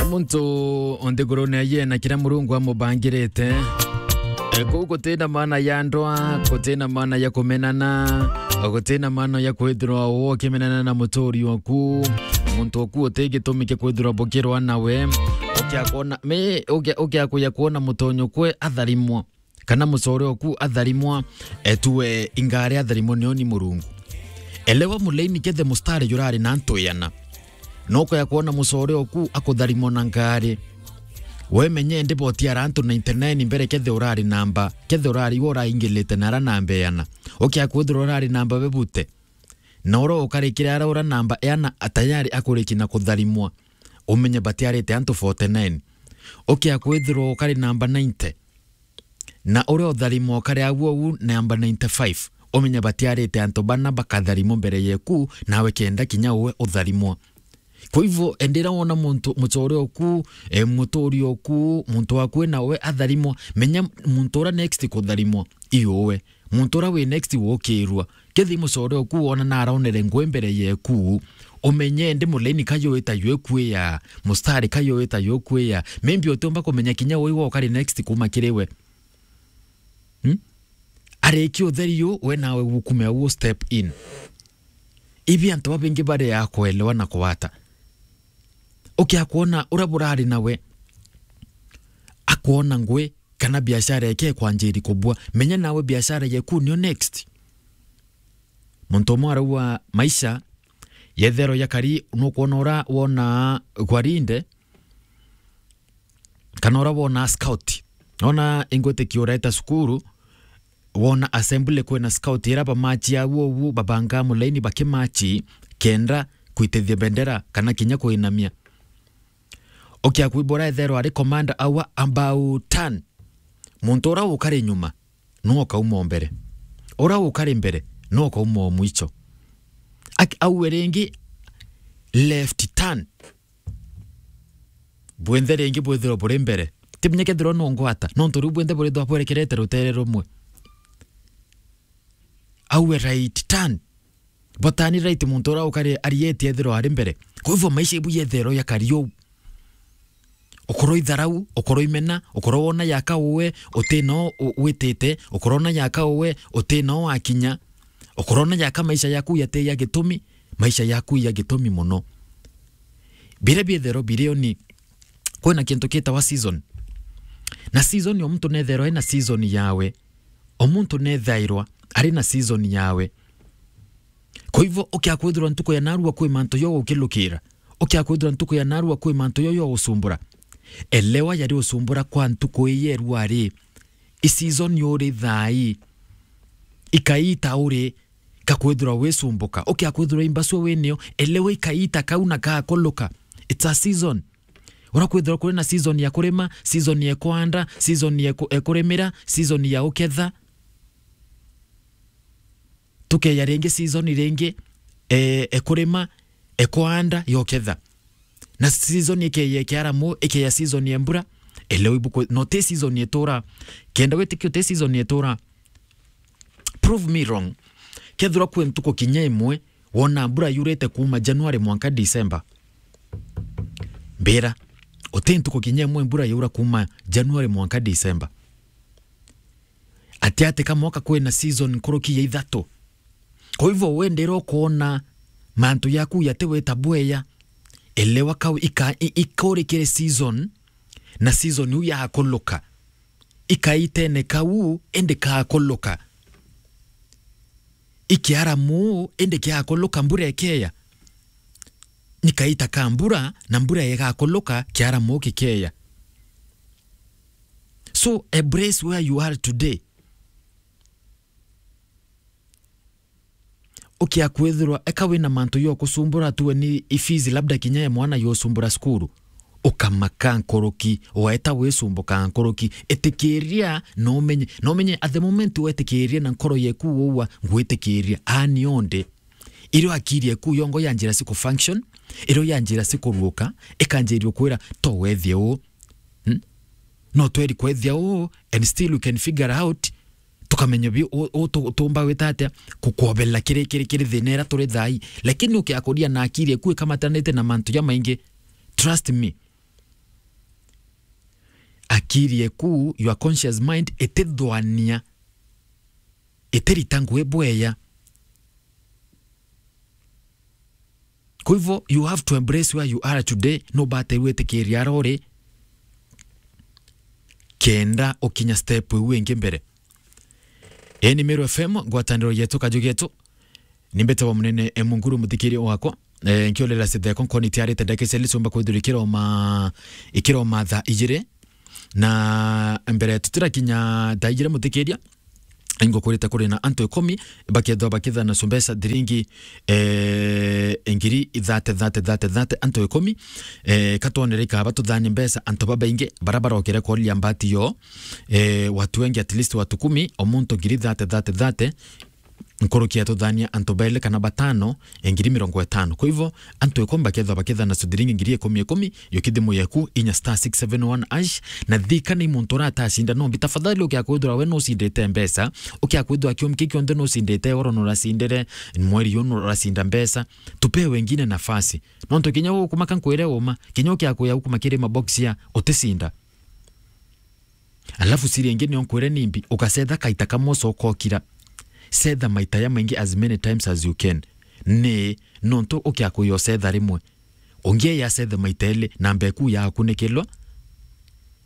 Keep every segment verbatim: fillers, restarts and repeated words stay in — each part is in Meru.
Muntu o nthigurune aye na kiria Murungu amubangirite. E, kuu gutina maana ya ndwa, gutina maana ya kumenana, gutina maana ya kwithirwa ukimenana na muturi oku. Muntu oku uti gitumi kia kwithirwa bukirwa nawe. Ukia kwona, mi, ukia, ukia kuya kwona mutonyo kwe atharimwa, kana mucore oku atharimwa, e, tuwe ingari atharimwa nio ni Murungu. Elewa mulaini kethe mustari jurari na antu iana. Nokoya kwona mucore oku akutharimwa na ngari. We menye ndi boti ara antu ninety nine mbere kethe urari namba, kethe urari we uraingilite na ara namba iana. Ukia kwithirwa urari namba bebute. Na ura ukarikire ara ura namba iana atayari akuriki na kutharimwa. Umenye batiarite antu forty nine. Ukia kwithirwa ukari namba ninety. Na uria utharimwa ukari agu uu namba ninety five, umenye batiarite antu bana bakatharimwa mbere yeku, nawe kenda kinya uwe utharimwa. Kwa hivyo, endera wona muntu, mucore oku, e, muturi oku, muntu waku we nawe atharimwa, menya muntu ura next kutharimwa, i uwe. Muntu ura wi next wukirwa. Kethi mucore oku wona na aronere ngui mbere yeku, umenye ndi mulaini ka yuita yukwia, mustari ka yuita yukwia. Maybe utiumba kumenya kinya ui wa ukari next kuma kiri we. Hmm? Ariki utheri u, we nawe gukume au step in. Ibi antu babingi bari a kuelewa na kuwata. Ukia kwona ura burari nawe, akwona ngui, kana biashara yake ikwanjiri kubua, menya nawe biashara yeku nio next. Muntu umwe arauga maisha yethero ya kari, nukwona ura wona gwarinde, kana ura wona scout. Ona ingwitikia ureta cukuru, wona assembly kwina scout ira bamachi agu ugu babanga mulaini bakimachi kenda kwitithia bendera kana kinya kuinamia. Ukia kwibura ethero ari commander aua about turn. Muntu ura ukari nyuma, no ukauma o mbere. Ura ukari mbere, no ukauma o mwicho. Ak-, aue ringi, left turn. Bwinthe ringi bwithirwa buri mbere. Timenye kethirwa no ngwata, nontu riu bwinthe burithwa bwerekerete rutere rumwe. Aue right turn. Botani right muntu ura ukari arieti ethirwa ari mbere. Kwa hivyo maisha ibu yethero ya kari uu. Ukorwo itharau, ukorwo imena, ukorwo wona yaka uwe, uti no u-, witite, ukorwo na yaka uwe, uti no wakinya, ukorwo na yaka maisha yaku yate ya gitumi, maisha yaku ya gitumi muno. Biria biethero birio ni, kwina kintu kitawa season. Na season o muntu nethero ena season yawe. O muntu nethairwa ari na season yawe. Kwa hivyo, ukia kwithirwa ntuku ya narua kwi mantu yo ukilukira, ukia kwithirwa ntuku ya narua kwi mantu yo yo usumbura, elewa yari usumbura kwa ntuku ii yerua ri, i season uri thai, ikaita uri, ka kwithirwa wisumbuka, ukia kwithirwa imbasua winio, elewa ikaita kau na kakuluka. It's a season. Ura kwithirwa kuri na season ya kurima, season ya kwanda, season ya ku-, ya kurimira, season ya uketha. Tukeya ringi season ringi, e, e kurima, e kwanda, ya uketha. Na season ikeya kiaramu, ikeya season ya mbura, elewa ibuku, no ti season itura. Kenda witikia ti season itura, prove me wrong. Kethirwa kwi ntuku kinya imwe wona mbura yurite kuuma January mwanka December, mbira, uti ntuku kinya imwe mbura yaura kuuma January mwanka December. Ati ati ka mwaka kwina season nkuruki ya ithatu. Kwa hivyo wendera ukoona mantu yaku yatiwita bweya, elewa kau ika-, i-, ikurikire season, na season iu yakuluka. Ikaitene kau, indi kakuluka. Ikiaramu, indi kiakuluka, mbura ikeya. Ni kaita ka mbura, na mbura igakuluka, kiaramu gikeya. So, embrace where you are today. Ukia kwithirwa eka wina mantu yo kusumbura, tuwe ni fees labda kinya ya mwana yo sumbura cukuru, ukamaka nkuruki, waeta wisumbuka nkuruki. Itikiria na umenye, na umenye at the moment wetikiria na nkoro yeku uwa, ngwitikiria, ani onde. Irio akiri eku yongo yanjira siku function, irio yanjira sikuruuka, ikanjiria kwira, to wethie uu. Hmm? No tweri kwethia uu, and still we can figure out, tukamenya bi-, u-, u-, tu-, tumba wita atia, kukwobela kiri, kiri, kiri thina ira turi thai. Lakini ukiakuria na akiri eku ikamatanite na mantu jamaingi, trust me, akiri eku, your conscious mind, itithwania, itirita ngui bweya. Kwa hivyo, you have to embrace where you are today. No bate witikiria ara uri kenda ukinya step iu ingi mbere. Eni Meru F M, ngwataniro yetu, kaju getu. Ni mbete wa munene, e, Munguru, muthikiria wakwa. E, nkiorera sitheko nkoni tiarite ndagika cia licumba kwithirwa ikiroma, ikiroma thaa ijiri. Na mbere tutirakinya thaa ijiri, muthikiria, ingukurite kuri na antu ikumi bakethwa bakithana su mbeca thiringi, e, ngiri ithate, thate, thate, thate, antu ikumi. E, katwonere ikaba tuthanie mbeca antu babaingi bara barokere kuria mbati yo. E, watu wengi, at least watu kumi, o muntu ngiri thate, thate, thate. Nkuruki ya tuthania antu baili kana batano, e, ngiri mirongo itano. Kwa hivyo, antu ikumi bakethwa bakithana su thiringi ngiri ikumi ikumi, yo kithimu yeku, inya star six seven one hash, na thika ni muntu uratacinda nombi. Tafadhali, ukia kwithirwa we nucindite mbeca, ukia kwithirwa kiumia kii kionthe nucindite, oro nuracindire, mweri uyu nuracinda mbeca, tupee wengine nafasi. Nontu kinya ukumaka nkwire uma, kinya ukia kuya ukuma kiri mabox ya uticinda. Alafu siri ingi nio nkwire nimbi, ukacetha kaita kamwe ucoka ukira. Cetha maita ya maingi, as many times as you can. Ni nontu ukia kuya ucetha rimwe. Ungi ya acethe maita eli, namba eku ya kunikilwa.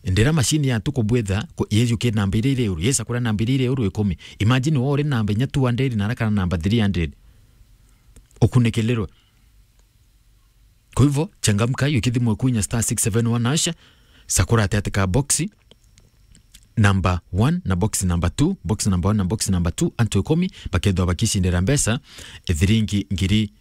Ndira machine ya tuku bwitha, ku-, yeju ki namba iria iri uru, yesa kuria namba iria iri uru ikumi. Imagine wo uri namba inya two hundred na arakana namba three hundred. Ukunikilirwe. Kwa hivyo, changamka, yo kithimu eku inya star six seven one hash, sakura ati ati ka box number one na box number two, box number one na box number two, antu ikumi bakethwa bakicindira mbeca, e, thiringi ngiri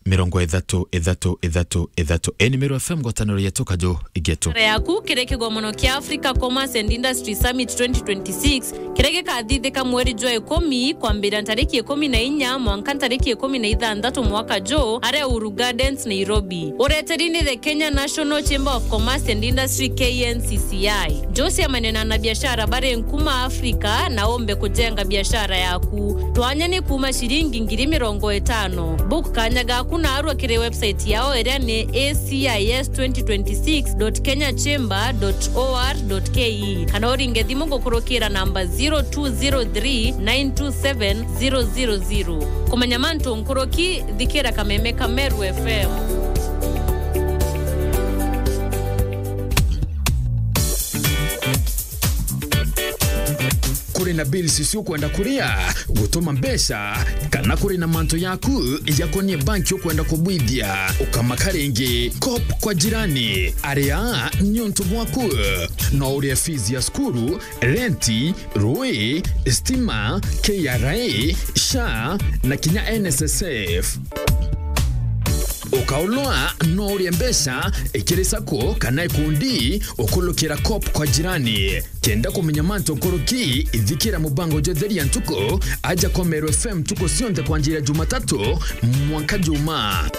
mirongo ithatu, ithatu, ithatu, ithatu. Eni Meru F M, ngwataniro yetu, kaju getu. Biashara yaku kiri kigomono kia Africa Commerce and Industry Summit twenty twenty-six, kiria gikathithika mweri jwa ikumi, kwambiria ntariki ikumi na inya mwanka ntariki ikumi na ithanthatu mwaka juu, aria Uhuru Gardens, Nairobi. Ureteri ni the Kenya National Chamber of Commerce and Industry, K N C C I. Njo ciamane na anabiashara bari nkuma Afrika na umbe kujenga biashara yaku. Twanya ni kuuma ciringi ngiri mirongo itano. Book kanya gaku narua kiri website yao iria ni A C I S twenty twenty-six dot kenya chamber dot O R dot K E, kana uringe thimu gukurukira namba zero two zero three nine two seven zero zero zero. Kumenya mantu nkuruki, thikira kameme ka Meru F M. Kuri na bills cio ukwenda kuria, gutuma mbeca, kana kuri na mantu yaku jakonie banki ukwenda kubwithia, ukamaka ringi. Cop kwa jirani. Aria ni untu bwaku. No urie fees ya cukuru, renti, rui, stima, K R A, SHA, na kinya N S S F. Ukaulwa no urie mbeca ikiri sacco kana ikundi ukulukira Cop kwa jirani. Kenda kumenya mantu nkuruki, ithikira mubango jwa Theria Ntuku aja kwa Meru F M ntuku cionthe kwanjira Jumatatu mwanka Juma.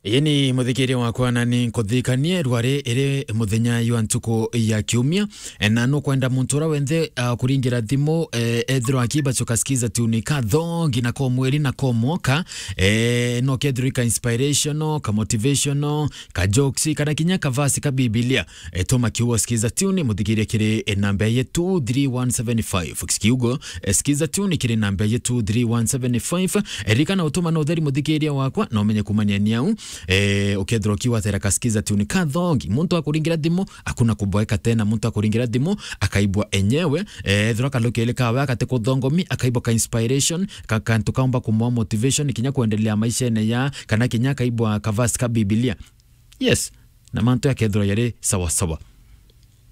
Ii ni muthikiria wakwa, na ni nkuthikanie rwari iri muthenya jwa ntuku ya kiumia, na nukwenda muntu uria wenthe, ah, kuringira thimu, eh, ethirwa akibacuka Skiza Tune kathongi na ko mweri na ko mwoka, eh, no kethirwa ka inspirational, ka motivational, ka jokes, kana kinya ka verse ka Bibilia. E, tuma kiugo Skiza Tune muthikirie kiri, e, namba ya two three one seven five. Kiugo, e, Skiza Tune kiri namba ya two three one seven five. E, ririkana utuma na utheri muthikiria wakwa, na umenye kumania ni au. E, ukethirwa ukiwatera ka Skiza Tune kathongi, muntu akuringira thimu, hakuna kuboeka tena, muntu akuringira thimu, akaibwa enyewe. E, ethirwa kalukele kawe akate kuthongomi, akaibwa ka inspiration, ka kantu kaumba kumwa motivation, kinya kuendelea maishene ya, kana kinya akaibwa ka verse ka Bibilia. Yes, na mantu yakethirwa yari sawa sawa.